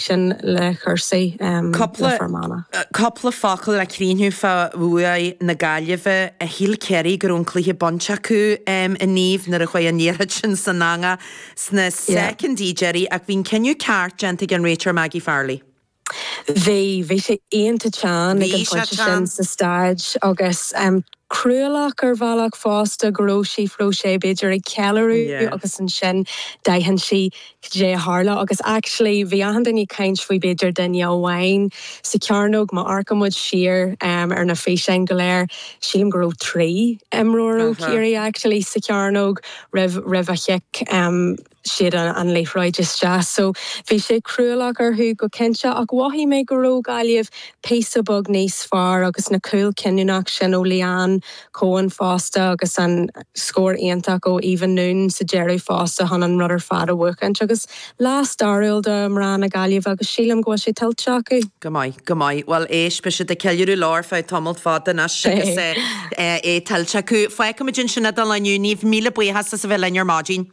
Sin le cúrsaí le Fear Manach. Cúpla focal le críochnú fá bhuaidh na Gaillimhe. Shíl Ciarraí go raibh an cluiche bainte acu a Niamh nuair a chuaigh an liathróid sin san eangach sna soicindí deiridh ach bhí an cinneadh ceart déanta ag an réiteoir Maggie Farrelly. Bhí. Bhí sé iontach teann ag an phointe sin sa staid agus cruálach ar bhealach fosta go raibh Síofra O'Shea b'fhéidir ag ceiliúradh agus ansin d'aithin sí cad é a tharla agus actually bhí achan duine ag caint faoi b'fhéidir duine amháin sa chearnóg, má amharcann muid siar ar na físeáin go léir sílim go raibh 3 imreoir ó Chiarraí actually sa chearnóg roimh roimh a chic siad an liathróid isteach. So bhí sé cruálach orthu go cinnte ach mhothaigh mé go raibh Gaillimh píosa beag níos fearr agus na cúil cinniúnach sin ó Leanne Coen fosta agus an scór iontach ó Eva Noone sa deireadh fosta chun an rud ar fad a bhuachaint agus lá stairiúil do mná na Gaillimhe agus sílim go bhfuil sé tuillte acu. Go maith, go maith. Bhuel éist, beidh siad ag ceiliúradh leo ar feadh tamalt fada anois agus é tuillte acu. Fágfaimid ansin é don lá inniu, Niamh, míle buíochas as a bheith linn ar maidin.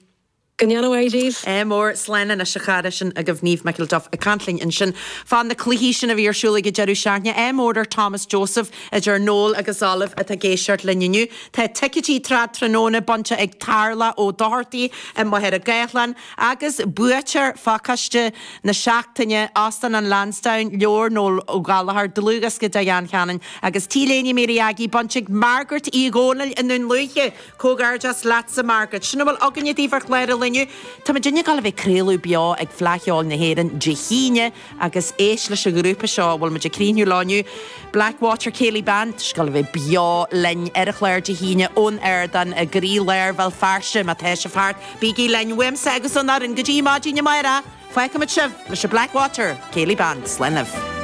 Go ndéana a mhaith daoibh. Ádh mór, slán anois a chara, sin agaibh Niamh McElduff ag caint linn ansin fá na cluichí sin a bhí ar siúl ag an deireadh seachtaine. Ádh mór ar Thomas Joseph idir Noel agus Olive atá ag éisteacht linn inniu. Tá ticéidí Trad Tráthnóna bainte ag Tarlach Ó Dochartaigh i Machaire Gathlán agus buaiteoir phacáiste na seachtaine, Óstán an Lansdowne, leabhar Noel Ó Gallchóir, dlúthdhiosca de Dan Cannon agus T-léine Mary Aggie bainte ag Margaret Uí Dhónaill i nDún Lúiche. Comhghairdeas leatsa Margaret. Sin a bhfuil againne daoibh ar chlár an lae inniu. Tá muidinne ag gabháil a bheith ag craoladh beo ag Fleadh Cheoil na hÉireann Dé hAoine agus éist leis an ghrúpa seo a bhfuil muid ag críochnú leo inniu, Blackwater Céilí Band. Tá siad ag gabháil a bheith beo linn ar an chlár Dé hAoine ón ardán i gcroí-lár Bhéal Feirste. Má tá sibh thart, bígí linn uaimse agus ón fhoireann go dtí maidin amárach. Fágfaimid sibh leis an Blackwater Céilí Band. Slán libh.